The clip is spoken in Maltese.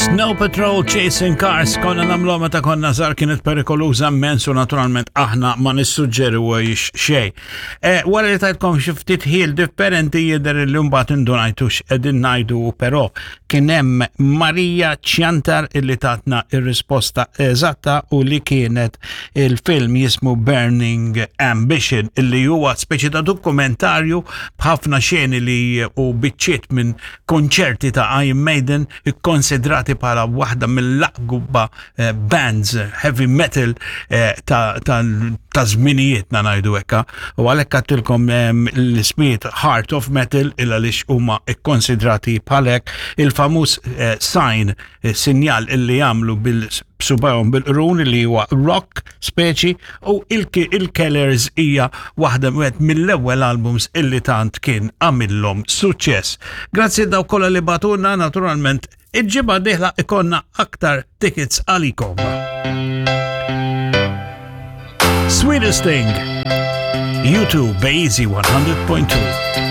Snow Patrol Chasing Cars konna namlu meta konna żgħar kienet perikoluża immens u naturalment aħna ma nissuġġeru xejn. E, wara li tajtkom xi ftit ħil differenti jidher li mbagħad indunajtu x'qegħdin ngħidu però kien hemm Marija Ċjantar illi tatna ir-risposta eżatta u li kienet il-film jismu Burning Ambition illi huwa speċi ta' dokumentarju b'ħafna xeni li u biċċiet minn konċerti ta' Iron Maiden ikkonsidrati bħala waħda mill-aqwa eh, bands heavy metal eh, ta' ta' żminijietna ngħidu hekk. U għalhekk għattilkom ehm, l-ismijiet Heart of Metal il għaliex huma ikkonsidrati bħalek il-famuż eh, sign sinjal illi jagħmlu bil-subajhom bil-qrun li huwa rock speċi u il-Kellers hija waħda wieħed mill-ewwel albums illi tant kien għamillhom suċċess. Grazzi daw kollha li batuna naturalment il-ġimgħa dieħla ikonna aktar tickets għalikom. Sweetest Thing, YouTube Bazy 100.2.